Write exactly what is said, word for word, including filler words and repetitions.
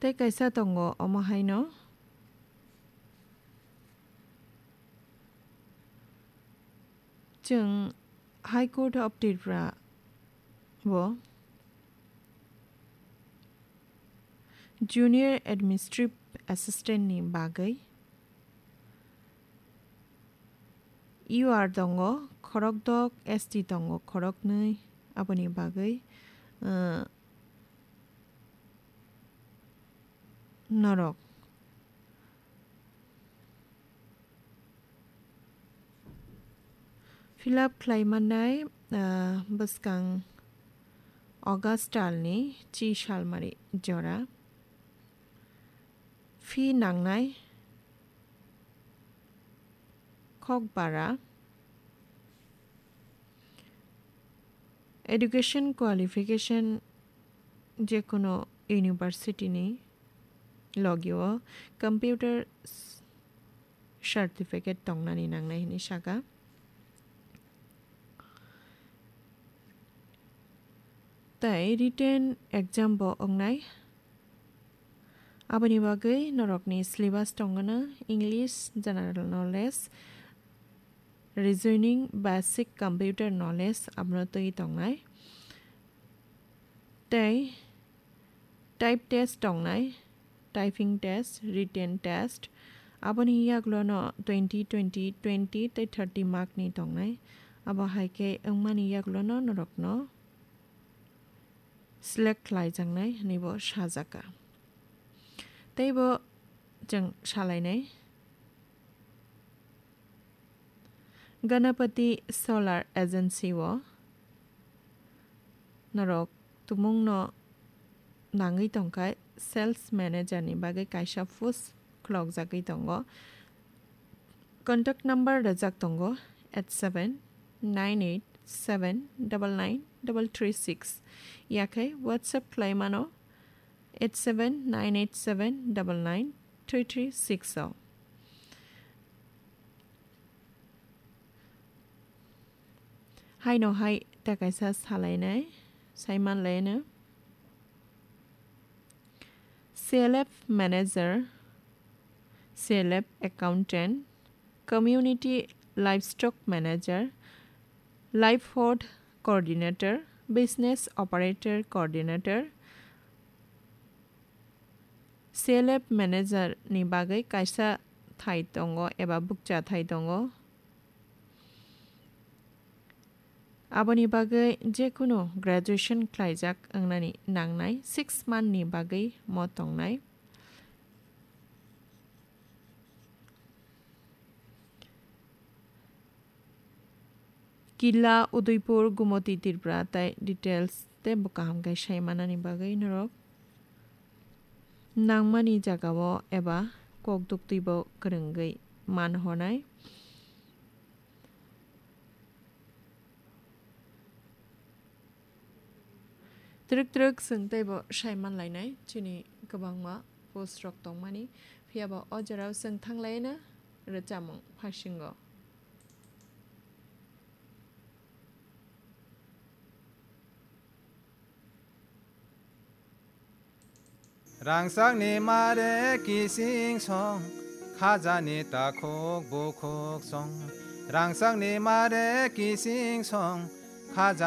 Tei kaisa tongo omo haino. Chwng High Court of Tripura o Junior Administrative Assistant ni bagwi U R tongo khorokdok, S T tongo khoroknwi, aboni bagwi, uh, norok fill up khlai mannai, ah, bwskang August talni chi salmari jora. Fee nangnai kok bara. Education qualification jekunu university ni logi o computer s-, certificate tongnani nangnai hinwi saka. Tei written exam bo wngnai. Aboni bagwi norokni syllabus tongwno English, General Knowledge, Reasoning, Basic Computer Knowledge abono twi tongnai. Tei type test tongnai, typing test, written test. Aboni yaglono twenty, twenty, twenty tei thirty mark ni tongnai. Abo hai khe wngmani yaglono norokno select khlaijaknai hwnwi bo sajaka. Tei bo chwng salainai. Ganapati Solar Agency o norok tumungno nangwi tongkha, sales manager ni bagwi kaisa post khulokjagwi tongo. Contact number rwjak tongo eight seven nine eight seven double nine double three six, yakhe WhatsApp khlai mano eight seven nine eight seven double nine three three six o. Haino hai ta kaisa salainai, saimanlaino. C L F manager, C L F accountant, community livestock manager, livelihood coordinator, business operator coordinator, C L F manager ni bagwi kaisa thai tongo eba bukcha thai tongo. Aboni bagwi jekunu graduation khlaijak wngnani nangnai six month ni bagwi mo tongnai. Killa, Udaipur, Gumoti, Tripura tei details tei bo kaham khe sai manani bagwi norok nangmani jagao eba kok duktwibo kwrwngwi man honai. Twrwk twrwk chwng teibo sai manlainai, chini kwbangma post rok tongmani, phiyaba o jorao chwng thanglaina rwchapmung phasingo. Rangchakni mare kising song, khajani takhuk bukhuk song. Rangchakni mare kising song, khajani